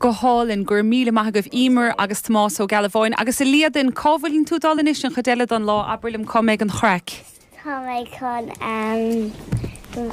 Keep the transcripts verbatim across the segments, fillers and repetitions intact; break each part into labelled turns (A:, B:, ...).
A: Go hálainn go raibh míle maith agaibh Emer agus Tomás Ó Gealbháin agus a Líadan cá bhfuileann tú dul anois an chuid eile den lá abair liom cá mbeidh an chraic.
B: Tá mé chun um,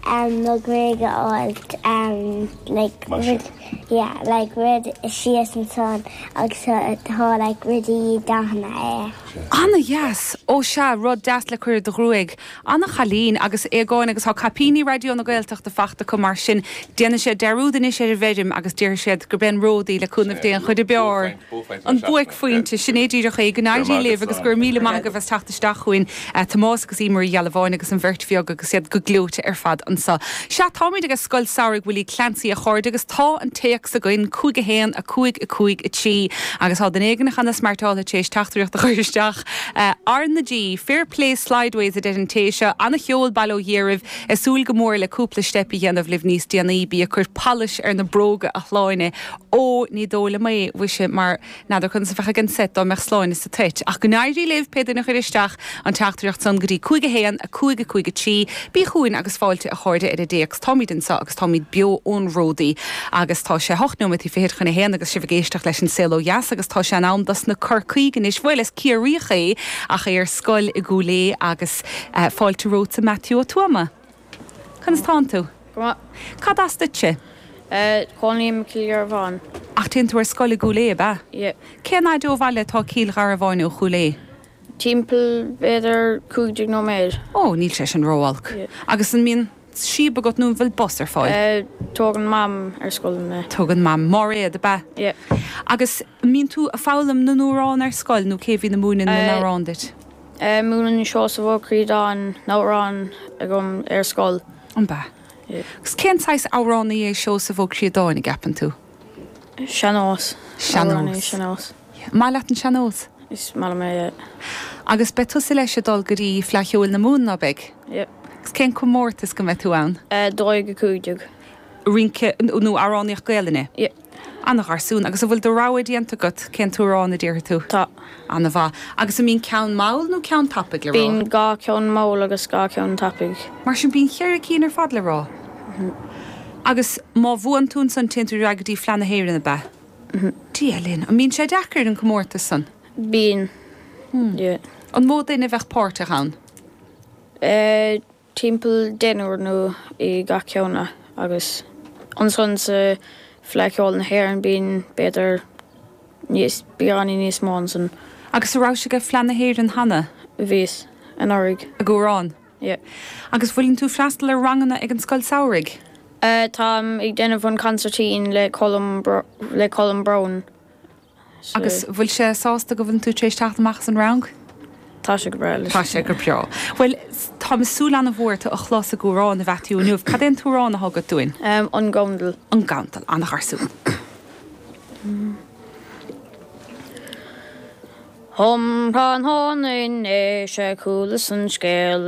B: um, mo ghruaig a fháilt um, like, rud, yeah, like rud síos ansan agus tá like rudaí dathanna é.
A: An-deas ó sea rud deas le cur do ghruaig. An-chailín agus égáin agus tá caipíní Raidió na Gaeltachta fachta go mar sin déanfaidh siad dearúd anois ar an bhfeirm agus déarfaidh siad gur ben ródaí le cúnamh Dé an chuid ab fhearr. An buaicphointe sin é díreach é go n-éirí libh agus gur míle maith agaibh as teacht isteach chugainn Tomás agus Emer Uí Ghealbháin agus an bheirt bheag agus iad go gleoite ar fad anseo. Sea táimid ag Scoil Samhraidh Willie Clancy a chairde agus tá an téacs againn cúig a haon a cúig a cúig a trí agus tá duine éigin cheana smartáilte tar éis teachtaireacht a chur isteach R na G Fair Play Slideways a deir an té seo an-cheol bail ó Dhia oraibh ag súil go mór le cúpla steip a dhéanamh libh níos déanaí bí ag cur polish ar na bróga a Shláine ó ní dóigh liom é mhuise mar n'fheadar conas a bheadh ag an set dá mbeadh Sláine sa toit ach go n-éirí libh pé duine chuir isteach an teachtaireacht san go dtí cúig a haon a cúig a cúig a trí bí chugainn agus fáilte a chairde ar an dtéacs táimid anseo agus táimid beo ón Ródaí agus tá sé hocht nóiméad fichead chun a haon agus sibh ag éisteacht leis an Saol Ó Dheas agus tá sé in am dos na Corcaígh anois bhuel is Ciarraíoch é ach é ar scoil i gCúil Aodha agus uh, fáilte romhat Matthew Ó Tuama. Conas tánn tú? Cad as duitse?
C: Cónaím i gCill Gharbháin.
A: Ach téann tú ar scoil i gCúil Aodha ab ea? Cén fhad ó bhaile atá Cill Gharbháin ó Chúil Aodha?
C: Timpeall b'fhéidir cúig déag nóiméad.
A: Ó, níl sé sin ró-olc. Agus an mbíonn síob agat nó an bhfuil bus ar fáil?
C: Tógann Mam ar scoil mé.
A: Tógann Mam Máiréad ab ea? Agus mbíonn tú ag foghlaim na n-amhrán ar scoil nó cé bhíonn ag múineadh na n-amhrán duit?
C: Múineann Seosamh Ó Críodáin na hamhráin agam ar scoil.
A: An ea? Agus cén saghas amhránaí é Seosamh Ó Críodáin a gceapann tú?
C: Sean-nós.
A: Sean-nós.
C: Sean-nós.
A: Maith leat an sean-nós?
C: Is maith liom é.
A: Agus beidh tusa leis ag dul go dtí Fleadh Cheoil na Mumhan ná beidh?
C: Yep.
A: Agus cén comórtas go mbeidh tú ann?
C: Dó dhéag a cúig déag.
A: Rince nó amhránaíocht Gaelainne?
C: Yep.
A: An-gharsún, agus an bhfuil do rogha déanta agat cén t-amhrán a déarfaidh tú?
C: Tá.
A: An-mhaith. Agus an mbíonn ceann mall nó ceann tapaidh le rá?
C: Bíonn dhá cheann mall agus dhá cheann tapaidh.
A: Mar sin bíonn cheithre cinn ar fad le rá. Agus má bhuann tú ansan téann tú ar aghaidh go dtí Fleadh na hÉireann ab ea? Dia linn. An mbíonn sé deacair an comórtas san?
C: Bíonn. Yeah.
A: An mó duine a bheadh páirteach ann?
C: Eh, timpeall deichniúr nó i gach ceann agus ansan sa Fleadh Cheoil na hÉireann bíonn b'fhéidir níos beagáinín níos mó ansan.
A: Agus an rabhais ag Fleadh na hÉireann cheana?
C: Bhíos, anuraidh.
A: Ag amhrán?
C: Yeah.
A: Agus bhfuileann tú freastal ar ranganna ag an scoil samhraidh?
C: Eh, táim ag déanamh an consairtín le Colm le Colm Browne.
A: Agus bhfuil sé sásta go bhfuileann tú tar éis teacht amach as an rang?
C: Tá sé go breá leis.
A: Tá sé go breá. Bhuel, táim ag súil an-mhór tú a chlos ag amhrán a Mhaitiú inniu. Cad é an t-amhrán atá agat dúinn?
C: An Gandal.
A: An Gandal, an-gharsún.
C: Um thráthnóna inné 'sé chualas an scéal.